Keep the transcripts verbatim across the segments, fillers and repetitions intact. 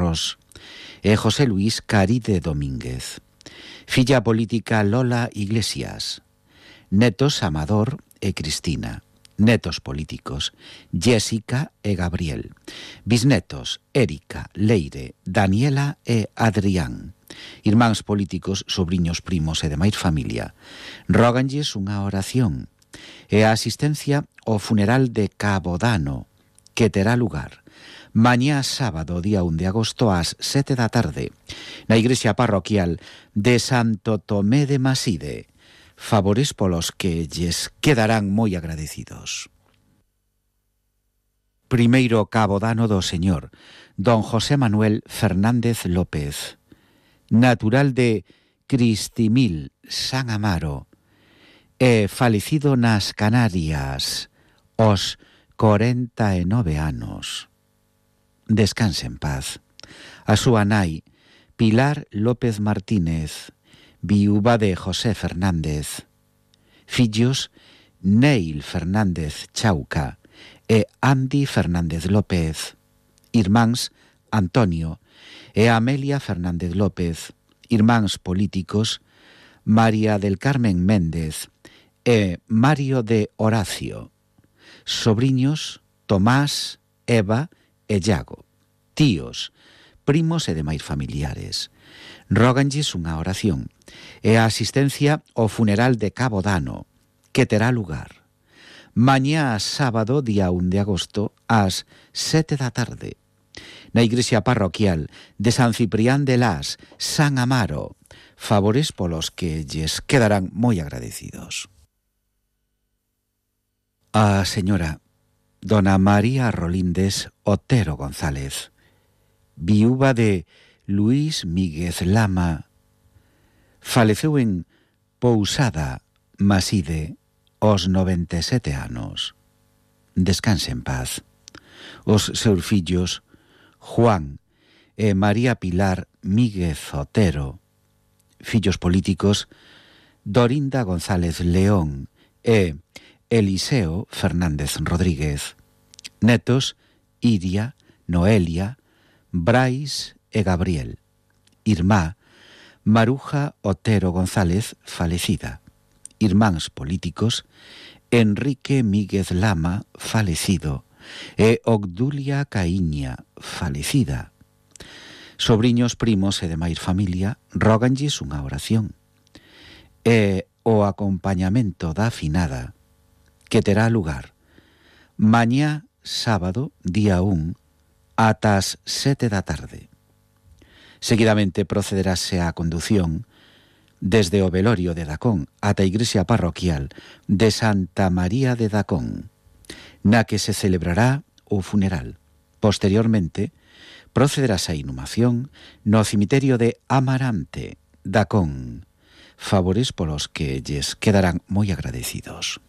Ros e José Luis Caride Domínguez. Filla política Lola Iglesias. Netos Amador e Cristina. Netos políticos Jessica e Gabriel. Bisnetos Érica, Leire, Daniela e Adrián. Irmáns políticos, sobriños, primos e demais familia. Róganlles unha oración e a asistencia ao funeral de Cabodano, que terá lugar mañá sábado, día un de agosto, ás sete da tarde, na igrexa parroquial de Santo Tomé de Maside. Favores polos que lles quedarán moi agradecidos. Primeiro cabodano do señor, don José Manuel Fernández López, natural de Cristimil, San Amaro, e falecido nas Canarias aos corenta e nove anos. Descanse en paz. A súa nai, Pilar López Martínez, viúva de José Fernández. Fillos, Neil Fernández Chauca e Andy Fernández López. Irmáns, Antonio e Amelia Fernández López. Irmáns políticos, María del Carmen Méndez e Mario de Horacio. Sobriños, Tomás, Eva e Iago. Tíos, primos e demais familiares. Róganlles unha oración e a asistencia ao funeral de Cabodano, que terá lugar mañá sábado, día un de agosto, ás sete da tarde, na igrexa parroquial de San Ciprián de Las, San Amaro. Favores polos que lles quedarán moi agradecidos. A señora dona María Rolíndes Otero González, viúva de Luís Míguez Lama, faleceu en Pousada, Maside, aos noventa e sete anos. Descanse en paz. Os seus fillos, Juan e María Pilar Míguez Otero. Fillos políticos, Dorinda González León e Eliseo Fernández Rodríguez. Netos, Iria, Noelia, Brais e Gabriel. Irmá, Maruja Otero González, falecida. Irmáns políticos, Enrique Míguez Lama, falecido, e Obdulia Caíña, falecida. Sobriños, primos e demais familia róganlles unha oración e o acompañamento da finada, que terá lugar mañá sábado, día un, ata as sete da tarde. Seguidamente procederase a condución desde o velorio de Dacón ata a igrexa parroquial de Santa María de Dacón, na que se celebrará o funeral. Posteriormente, procederase a inhumación no cemiterio de Amarante, Dacón. Favores polos que lles quedarán moi agradecidos.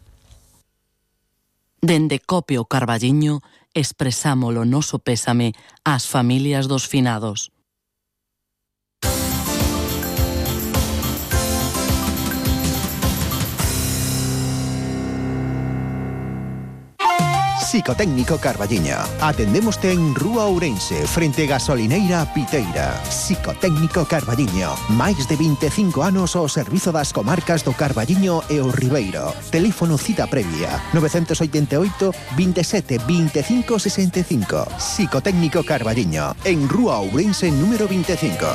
Dende Cope o Carballiño expresamos o noso pésame ás familias dos finados. Psicotécnico Carballiño. Atendémoste en Rúa Ourense, frente Gasolineira Piteira. Psicotécnico Carballiño. Máis de vinte e cinco anos ao servizo das comarcas do Carballiño e o Ribeiro. Teléfono cita previa nove oito oito, veintisiete, veinticinco sesenta e cinco. Psicotécnico Carballiño, en Rúa Ourense número veinticinco.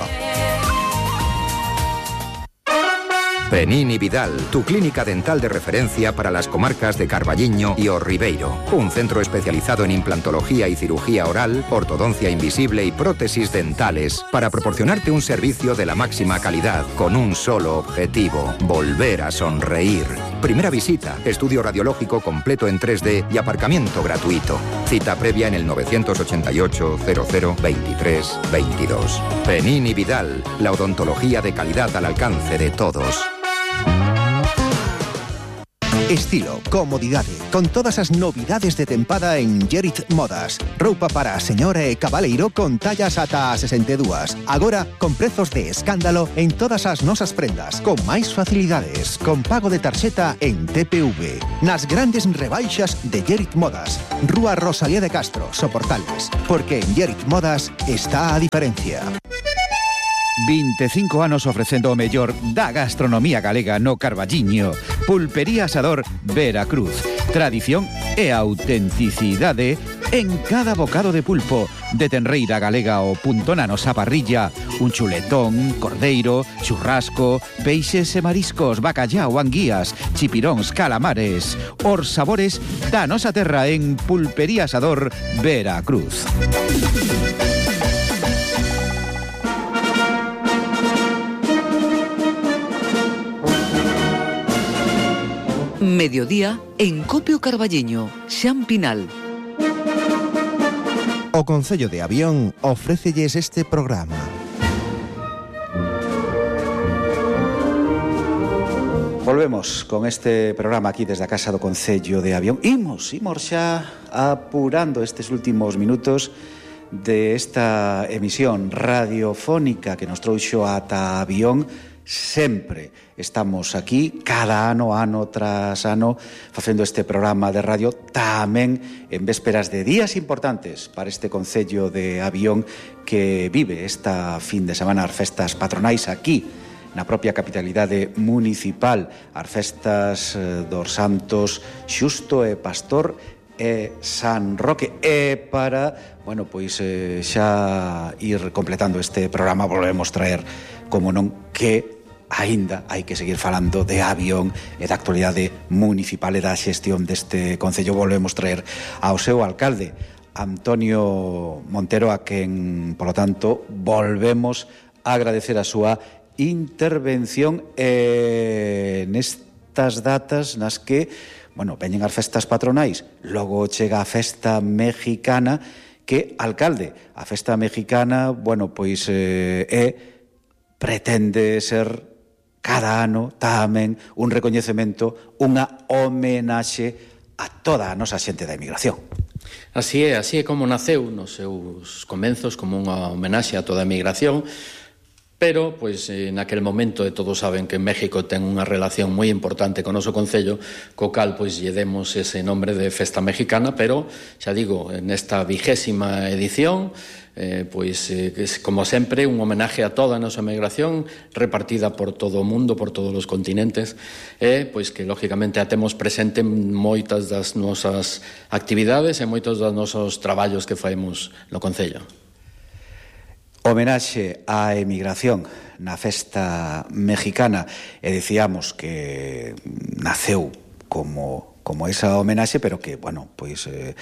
Penín y Vidal, tu clínica dental de referencia para las comarcas de Carballiño y O Ribeiro. Un centro especializado en implantología y cirugía oral, ortodoncia invisible y prótesis dentales, para proporcionarte un servicio de la máxima calidad, con un solo objetivo: volver a sonreír. Primera visita, estudio radiológico completo en tres D y aparcamiento gratuito. Cita previa en el nueve ocho ocho, cero cero, veintitrés, veintidós. Penín y Vidal, la odontología de calidad al alcance de todos. Estilo, comodidade, con todas as novidades de tempada en Gerit Modas. Roupa para a señora e cabaleiro con tallas ata a sesenta e dúas. Agora, con prezos de escándalo en todas as nosas prendas, con máis facilidades, con pago de tarxeta en T P V. Nas grandes rebaixas de Gerit Modas. Rúa Rosalía de Castro, Soportales. Porque en Gerit Modas está a diferencia. vinte e cinco anos ofrecendo o mellor da gastronomía galega no Carballiño. Pulpería Asador Veracruz. Tradición e autenticidade en cada bocado de pulpo. De tenreira galega o punto na nosa parrilla. Un chuletón, cordeiro, churrasco, peixes e mariscos, bacallao, anguías, chipiróns, calamares. Os sabores da nosa terra en Pulpería Asador Veracruz. Mediodía en Copio Carballiño, Xan Pinal. O Concello de Avión ofrécelles este programa. Volvemos con este programa aquí desde a Casa do Concello de Avión. Imos, imos xa apurando estes últimos minutos de esta emisión radiofónica que nos trouxo ata Avión. Sempre estamos aquí, cada ano, ano tras ano, facendo este programa de radio, tamén en vésperas de días importantes para este Concello de Avión que vive esta fin de semana as festas patronais aquí, na propia capitalidade municipal, as festas dos santos Xusto e Pastor e San Roque. E para, bueno, pois eh, xa ir completando este programa, volvemos traer, como non, que aínda hai que seguir falando de Avión e da actualidade municipal e da xestión deste Concello. Volvemos traer ao seu alcalde, Antonio Montero, a quen, polo tanto, volvemos a agradecer a súa intervención eh, nestas datas nas que, bueno, veñen as festas patronais, logo chega a festa mexicana, que, alcalde, a festa mexicana, bueno, pois eh, é, pretende ser cada ano tamén un recoñecemento, unha homenaxe a toda a nosa xente da emigración. Así é, así é como naceu nos seus comenzos, como unha homenaxe a toda a emigración, pero, pois, naquel momento, e todos saben que México ten unha relación moi importante con o noso Concello, co cal, pois, lle demos ese nombre de Festa Mexicana, pero, xa digo, nesta vigésima edición, eh, pois, eh, como sempre, un homenaje a toda a nosa emigración, repartida por todo o mundo, por todos os continentes, e, pois, que, lógicamente, a temos presente moitas das nosas actividades e moitos dos nosos traballos que faemos no Concello. Homenaxe á emigración na festa mexicana, e dicíamos que naceu como, como esa homenaxe, pero que, bueno, pois eh,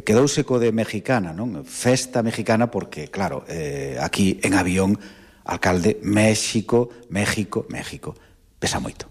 quedou seco de mexicana, non? Festa mexicana porque, claro, eh, aquí en Avión, alcalde, México, México, México, pesa moito.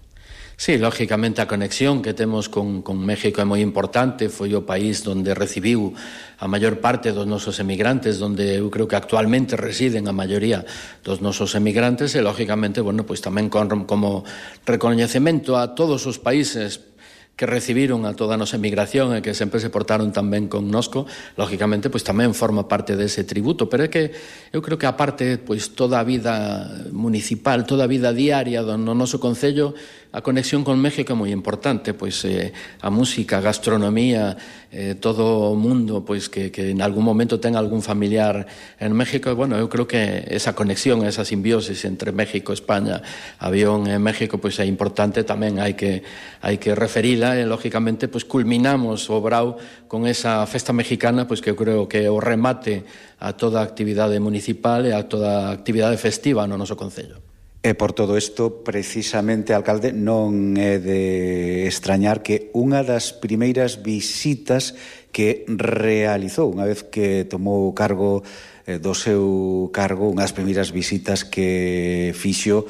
Sí, lógicamente a conexión que temos con, con México é moi importante, foi o país onde recibiu a maior parte dos nosos emigrantes, onde eu creo que actualmente residen a maioría dos nosos emigrantes, e lógicamente, bueno, pois tamén con, como recoñecemento a todos os países que recibiron a toda a nosa emigración e que sempre se portaron tan ben connosco, lógicamente, pois tamén forma parte dese tributo, pero é que eu creo que aparte, pois toda a vida municipal, toda a vida diaria do no noso Concello, a conexión con México é moi importante, pois eh, a música, a gastronomía, eh, todo o mundo, pois que, que en algún momento ten algún familiar en México, e, bueno, eu creo que esa conexión, esa simbiosis entre México, España, Avión e México, pois é importante, tamén hai que hai que referila, e lógicamente pois culminamos o brao con esa festa mexicana, pois que eu creo que é o remate a toda a actividade municipal e a toda a actividade festiva no noso Concello. E por todo isto, precisamente, alcalde, non é de extrañar que unha das primeiras visitas que realizou, unha vez que tomou cargo eh, do seu cargo, unha das primeiras visitas que fixo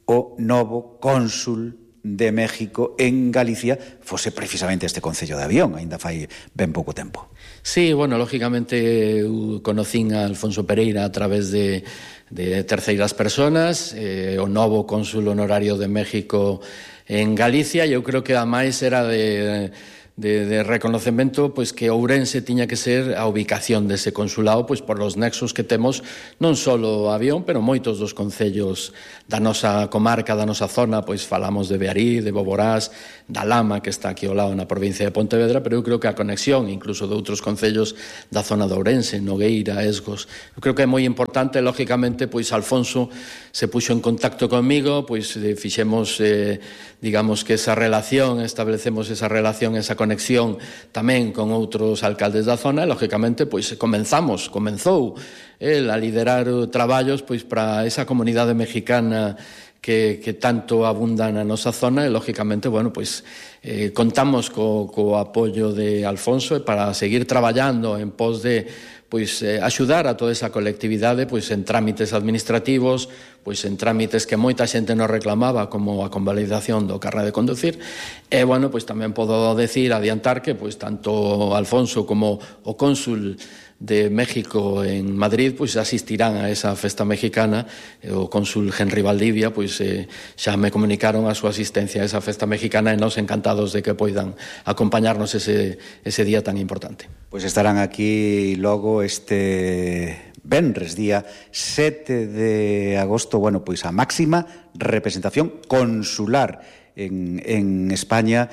o novo cónsul de México en Galicia fose precisamente este Concello de Avión, aínda fai ben pouco tempo. Sí, bueno, lógicamente eu conocín a Alfonso Pereira a través de, de terceiras personas, eh, o novo cónsul honorario de México en Galicia, eu creo que ademais era de... De, de reconocemento pois que Ourense tiña que ser a ubicación dese consulado pois por os nexos que temos non só a Avión, pero moitos dos concellos da nosa comarca, da nosa zona, pois falamos de Bearí, de Boborás, da Lama, que está aquí ao lado na provincia de Pontevedra, pero eu creo que a conexión incluso de outros concellos da zona de Ourense, Nogueira, Esgos, eu creo que é moi importante. Lógicamente, pois Alfonso se puxo en contacto conmigo, pois fixemos eh, digamos que esa relación, establecemos esa relación, esa conexión tamén con outros alcaldes da zona e, lógicamente, pois comenzamos, comenzou el a liderar traballos pois para esa comunidade mexicana que, que tanto abunda na nosa zona e, lógicamente, bueno, pois eh, contamos co, co apoio de Alfonso e para seguir traballando en pos de pois eh, axudar a toda esa colectividade pois en trámites administrativos, pois en trámites que moita xente nos reclamaba, como a convalidación do carné de conducir. E, bueno, pois tamén podo decir, adiantar que pois tanto Alfonso como o cónsul de México en Madrid pois asistirán a esa festa mexicana. O cónsul Henry Valdivia pois eh, xa me comunicaron a súa asistencia a esa festa mexicana e nos encantados de que poidan acompañarnos ese, ese día tan importante. Pois estarán aquí logo este venres, día sete de agosto, bueno, pois a máxima representación consular en, en España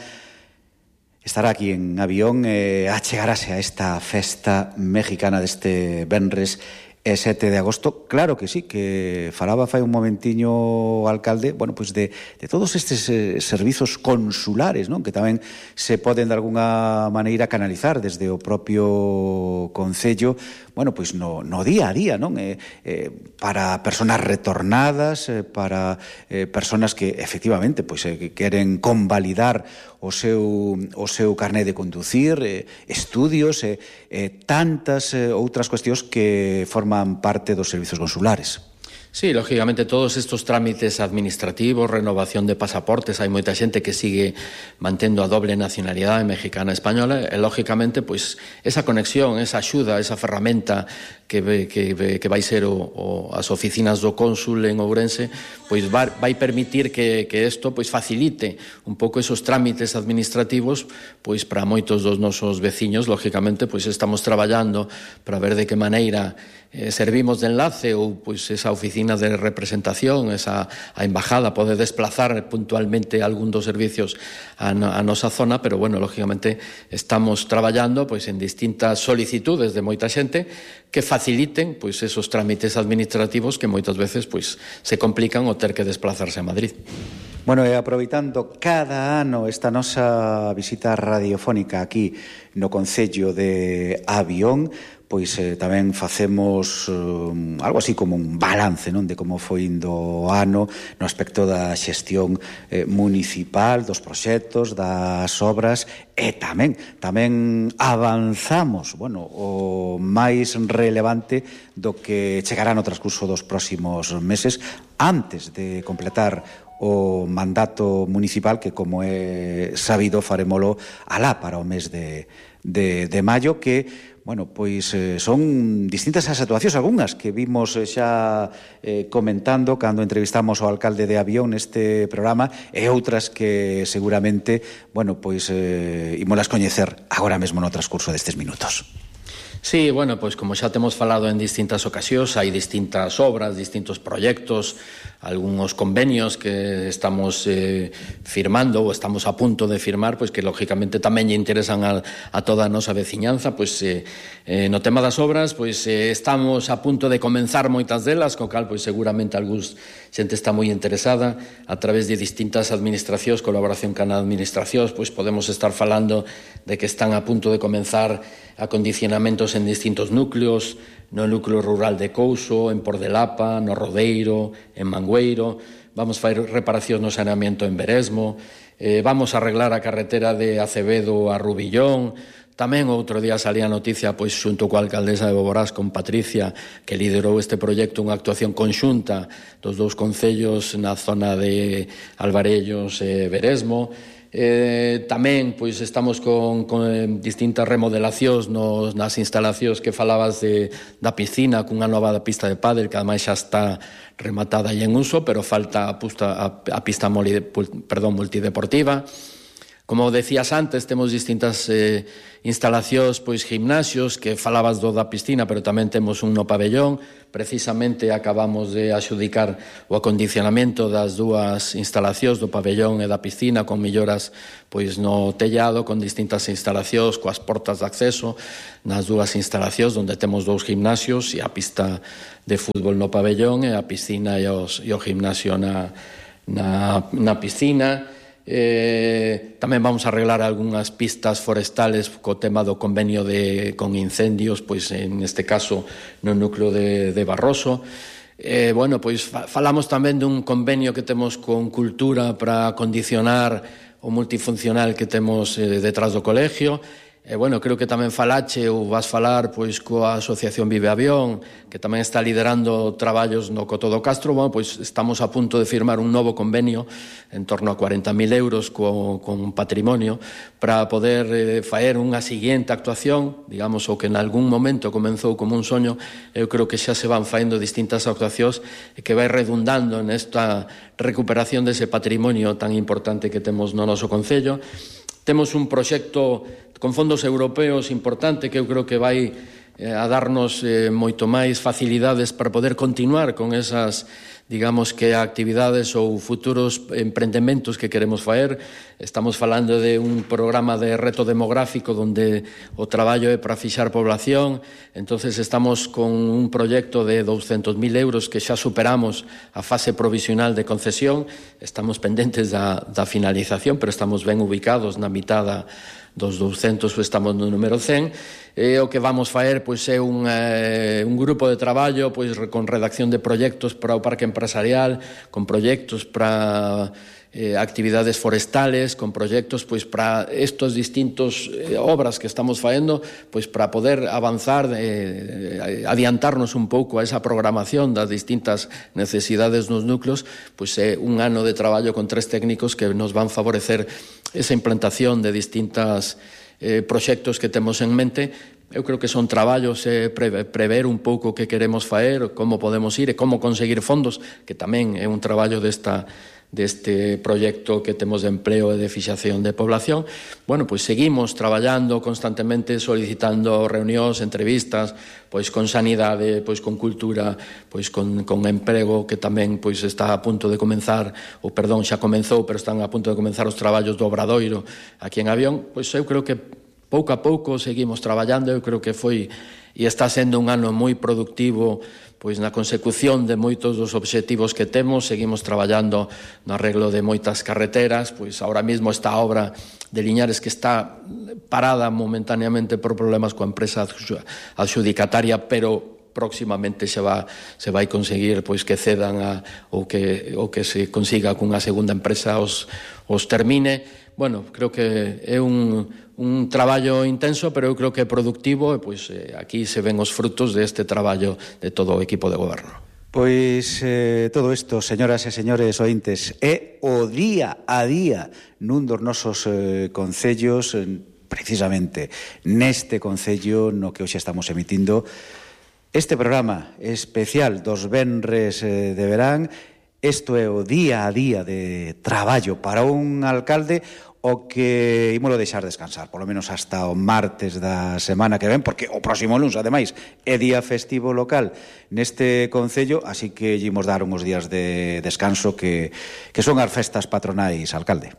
estará aquí en Avión e eh, achegarase a esta festa mexicana deste venres e sete de agosto. Claro que sí, que falaba fai un momentiño o alcalde, bueno, pois de, de todos estes eh, servizos consulares, non? Que tamén se poden de alguna maneira canalizar desde o propio concello, bueno, pois no, no día a día, non? Eh, eh, para persoas retornadas, eh, para eh, persoas que efectivamente pois eh, que queren convalidar o seu o seu carné de conducir, eh, estudios e eh, eh, tantas eh, outras cuestións que forman parte dos servizos consulares. Sí, lógicamente todos estos trámites administrativos, renovación de pasaportes, hai moita xente que sigue mantendo a doble nacionalidade mexicana e española e, lógicamente, pois esa conexión, esa axuda, esa ferramenta que, que, que vai ser o, o, as oficinas do cónsul en Ourense, pois vai, vai permitir que, que isto pois facilite un pouco esos trámites administrativos pois para moitos dos nosos veciños. Lógicamente, pois estamos traballando para ver de que maneira eh, servimos de enlace ou pois esa oficina de representación, esa a embajada pode desplazar puntualmente algún dos servicios a, no, a nosa zona, pero bueno, lógicamente estamos traballando pois en distintas solicitudes de moita xente que faciliten pois esos trámites administrativos que moitas veces pois se complican o ter que desplazarse a Madrid. Bueno, e aproveitando cada ano esta nosa visita radiofónica aquí no concello de Avión, pois eh, tamén facemos um, algo así como un balance, non, de como foi indo o ano no aspecto da xestión eh, municipal, dos proxectos, das obras e tamén tamén avanzamos, bueno, o máis relevante do que chegará no transcurso dos próximos meses antes de completar o mandato municipal que, como é sabido, farémolo alá para o mes de, de, de maio, que bueno, pois eh, son distintas as actuacións, algunhas que vimos eh, xa eh, comentando cando entrevistamos ao alcalde de Avión neste programa e outras que seguramente, bueno, pois eh, ímolas coñecer agora mesmo no transcurso destes minutos. Sí, bueno, pois como xa temos falado en distintas ocasións, hai distintas obras, distintos proxectos, algúns convenios que estamos eh, firmando ou estamos a punto de firmar, pois que lógicamente tamén lle interesan a, a toda a nosa veciñanza. Pois eh, eh, no tema das obras, pois eh, estamos a punto de comenzar moitas delas, co cal pois seguramente algúns xente está moi interesada a través de distintas administracións, colaboración con administracións, pois podemos estar falando de que están a punto de comenzar acondicionamentos en distintos núcleos, no núcleo rural de Couso, en Pordelapa, no Rodeiro, en Mangueiro. Vamos a fazer reparacións no saneamento en Beresmo, eh, vamos a arreglar a carretera de Acevedo a Rubillón. Tamén outro día salía a noticia, pois xunto coa alcaldesa de Boborás, con Patricia, que liderou este proxecto, unha actuación conxunta dos dous concellos na zona de Alvarellos e Beresmo. Eh, tamén pois estamos con, con eh, distintas remodelacións nos, nas instalacións que falabas de, da piscina, cunha nova pista de pádel que ademais xa está rematada e en uso, pero falta a, pusta, a, a pista moli, perdón, multideportiva. Como decías antes, temos distintas eh, instalacións, pois gimnasios, que falabas do da piscina, pero tamén temos un no pabellón. Precisamente acabamos de axudicar o acondicionamento das dúas instalacións do pabellón e da piscina con melloras pois no tellado, con distintas instalacións, coas portas de acceso nas dúas instalacións onde temos dous gimnasios e a pista de fútbol no pabellón e a piscina e, os, e o gimnasio na, na, na piscina. Eh, tamén vamos a arreglar algunhas pistas forestales co tema do convenio de, con incendios, pois en este caso no núcleo de, de Barroso. Eh, bueno, pois fa, falamos tamén dun convenio que temos con Cultura para acondicionar o multifuncional que temos eh, detrás do colegio. E, bueno, creo que tamén falache ou vas falar pois coa Asociación Vive Avión, que tamén está liderando traballos no Coto do Castro. Bueno, pois estamos a punto de firmar un novo convenio en torno a cuarenta mil euros co, con patrimonio para poder eh, faer unha seguinte actuación, digamos, o que en algún momento comenzou como un soño. Eu creo que xa se van faendo distintas actuacións e que vai redundando nesta recuperación dese patrimonio tan importante que temos no noso concello. Temos un proxecto con fondos europeos importante que eu creo que vai eh, a darnos eh, moito máis facilidades para poder continuar con esas, digamos que actividades ou futuros emprendementos que queremos faer. Estamos falando de un programa de reto demográfico onde o traballo é para fixar población. Entonces estamos con un proxecto de douscentos mil euros que xa superamos a fase provisional de concesión. Estamos pendentes da, da finalización, pero estamos ben ubicados na mitad dos douscentos, estamos no número cen. E o que vamos faer pois é un, eh, un grupo de traballo pois con redacción de proxectos para o parque empresarial, con proxectos para eh, actividades forestales, con proxectos pois para estos distintos eh, obras que estamos faendo, pois para poder avanzar, eh, adiantarnos un pouco a esa programación das distintas necesidades nos núcleos. Pois é un ano de traballo con tres técnicos que nos van favorecer esa implantación de distintas eh, proxectos que temos en mente. Eu creo que son traballos eh, pre, prever un pouco que queremos faer, como podemos ir e como conseguir fondos, que tamén é un traballo desta deste proxecto que temos de empleo e de fixación de población. Bueno, pois seguimos traballando constantemente, solicitando reunións, entrevistas, pois con sanidade, pois con cultura, pois con, con emprego, que tamén pois está a punto de comenzar, ou perdón, xa comenzou, pero están a punto de comenzar os traballos do Obradoiro aquí en Avión. Pois eu creo que pouco a pouco seguimos traballando. Eu creo que foi e está sendo un ano moi productivo pois na consecución de moitos dos obxectivos que temos. Seguimos traballando no arreglo de moitas carreteras. Pois ahora mesmo esta obra de Liñares que está parada momentáneamente por problemas coa empresa adxudicataria, pero próximamente se va se vai conseguir pois que cedan a, ou que ou que se consiga cunha segunda empresa os os termine. Bueno, creo que é un un traballo intenso, pero eu creo que é productivo e pois eh, aquí se ven os frutos deste traballo de todo o equipo de goberno. Pois eh, todo isto, señoras e señores ointes, é o día a día nun dos nosos eh, concellos, precisamente neste concello no que hoxe estamos emitindo este programa especial dos venres eh, de verán. Isto é o día a día de traballo para un alcalde o que ímolo deixar descansar, polo menos hasta o martes da semana que ven, porque o próximo luns, ademais, é día festivo local neste concello, así que ímos dar uns días de descanso que, que son as festas patronais, alcalde.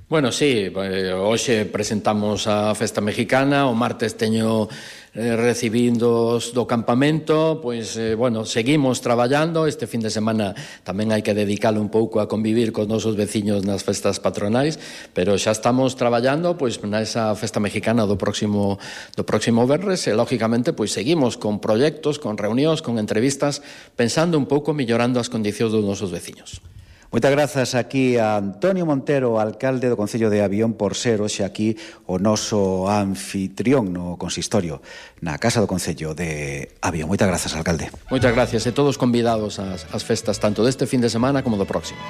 Bueno, sí, hoxe presentamos a Festa Mexicana, o martes teño eh, recibindo do campamento, pois, eh, bueno, seguimos traballando. Este fin de semana tamén hai que dedicalo un pouco a convivir cos nosos veciños nas festas patronais, pero xa estamos traballando pois nesa Festa Mexicana do próximo do próximo venres e, lógicamente, pois seguimos con proxectos, con reunións, con entrevistas, pensando un pouco mellorando as condicións dos nosos veciños. Moitas grazas aquí a Antonio Montero, alcalde do Concello de Avión, por ser hoxe aquí o noso anfitrión no consistorio na Casa do Concello de Avión. Moitas grazas, alcalde. Moitas gracias, e todos convidados ás, ás festas tanto deste fin de semana como do próximo.